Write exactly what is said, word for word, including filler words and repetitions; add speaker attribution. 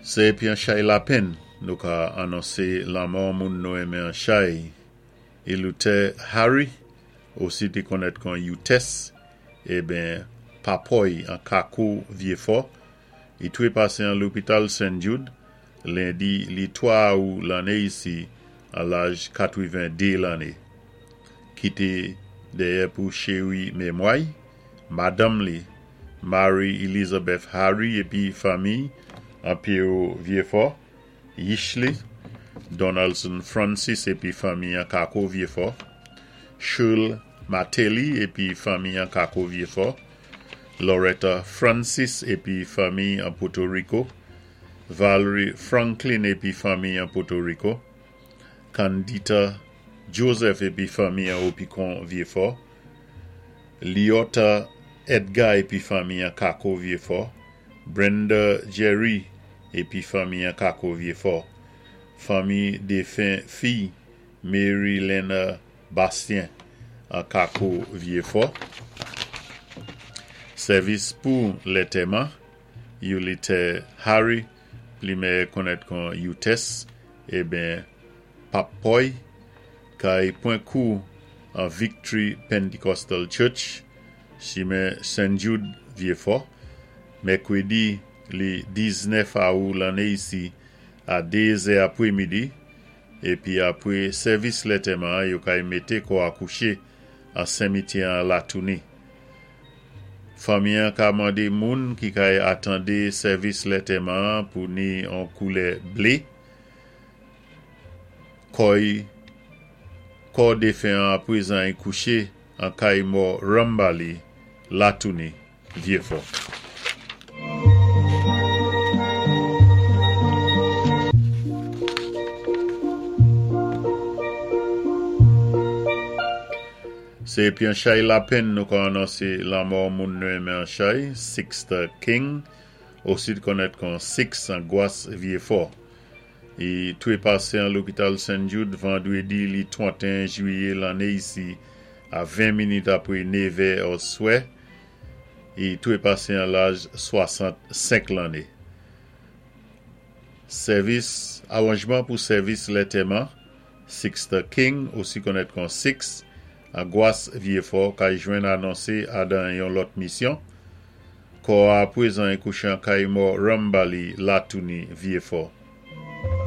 Speaker 1: Sé épi an chay lapenn nou ka anonsé lanmò moun nou enmen an chay. Eleuthère Harry, osi té konnèt kon Youtès, eben Papoy an Kako Vyéfò, i twépasé an lopital Saint Jude, lendi li twa awou lanné isi an laj katwiven-dé lanné. Kité dèyè pou chéwi mémwa'y, madanm li, Mary Elizabeth Harry épi fanmiy an Péro Vyéfò, yich li, Donaldson Francis épi fanmiy an Kako Vyéfò, Shirl Martelly épi fanmiy an Kako Vyéfò, Loretta Francis épi fanmiy an Puerto Rico, Valerie Franklin épi fanmiy an Puerto Rico, Candita Joseph épi fanmiy an Opikon Vyéfò, Liota Edgar épi fanmiy an Kako Vyéfò, Brenda Jerry épi fanmiy an Kako Vyéfò, fanmiy défen fiy Mary Lena Bastien an Kako Vyéfò. Sèvis pou lantèman, Eleuthère Harry, pli mèyè konnèt kon Youtès, eben Papoy, kay pwan kou an Victory Pentecostal Church, chimen Saint Jude Vyéfò, mèkwédi li diznèf awou lanné isi a dézè apwémidi, épi apwé sèvis lantèman yo kay mété kò a kouché an simityè an Latouni. Fanmi an ka mandé moun ki kay atandé sèvis lantèman pou ni an koulè blé. Kò'y kò défen an apwézan i kouché an kay mò Rambali, Latouni, Vyéfò. Sé épi an chay lapenn nou ka anonsé lanmò moun nou enmen an chay, Sixta King, osi konnèt kon Six an Gwas Vyéfò. I twépasé an lopital Saint Jude vandwédi li twanten jwiyé lanné isi a ven minit apwé nevè oswè. I twépasé an laj swasant-senk lanné. Sèvis, awanjman pou sèvis lantèman, Sixta King, osi konnèt kon Six, an Gwas Vyéfò, kay jwenn anonsé adan yon lòt misyon. Kò a apwézan i kouché an kay mò Rambali, Latouni, Vyéfò.